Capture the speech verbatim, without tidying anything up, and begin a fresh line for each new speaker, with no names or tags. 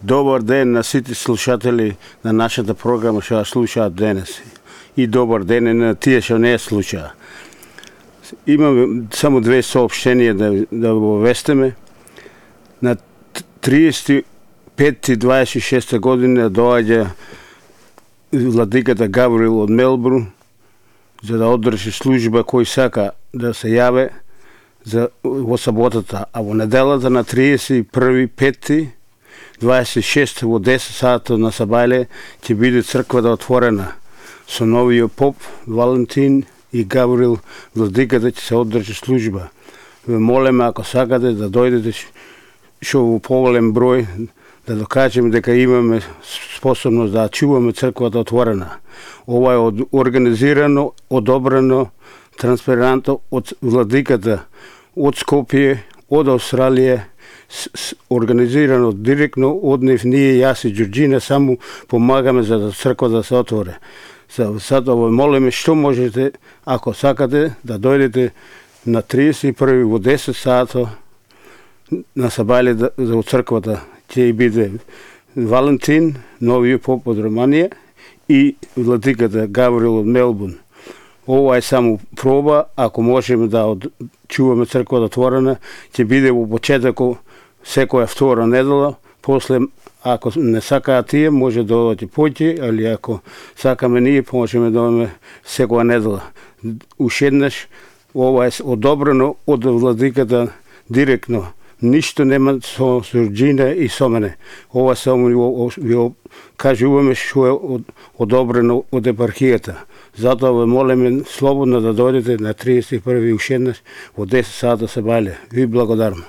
Добар ден на сите слушатели на нашата програма што ја слушаат денес. И добар ден на тие што не ја слушаат. Имаме само две соопштенија да, да обавестиме. На триесет и пети дваесет и шеста година доаѓа владиката Гавриел од Мелбурн за да одржи служба кој сака да се јаве за во саботата, а во неделата на триесет и први пети дваесет и шести во десет сати на сабајле ќе биде црквата отворена со новиот поп Валентин и Гавриел владиката ќе се одржи служба. Ве молиме ако сакате да дојдете што во поголем број да докажеме дека имаме способност да чуваме црквата отворена. Ова е организирано, одобрено, транспарентно од владиката од Скопје, од Австралија, организирано директно од нив. Ние, јас и Ѓорџина само помагаме за да црквата да се отвори. Сада во молиме што можете, ако сакате, да дојдете на триесет и први во десет сати на сабајле да, за црквата. Ќе биде Валентин, новиот поп од Романија и владиката Гавриел од Мелбурн. Ова е само проба, ако можеме да од... чуваме црквата отворена, ќе биде во почетокот секоја втора недела, после ако не сакаат тие, може да одите поќе, али ако сакаме ние, можеме да одиме секоја недела. Уште еднаш, ова е одобрено од владиката директно. Ништо нема со Ѓорџина и со мене. Ова само ви кажуваме што е одобрено од епархијата. Затоа ве молиме слободно да дојдете на триесет и први уште еднаш во десет сати сабајле. Ви благодарам.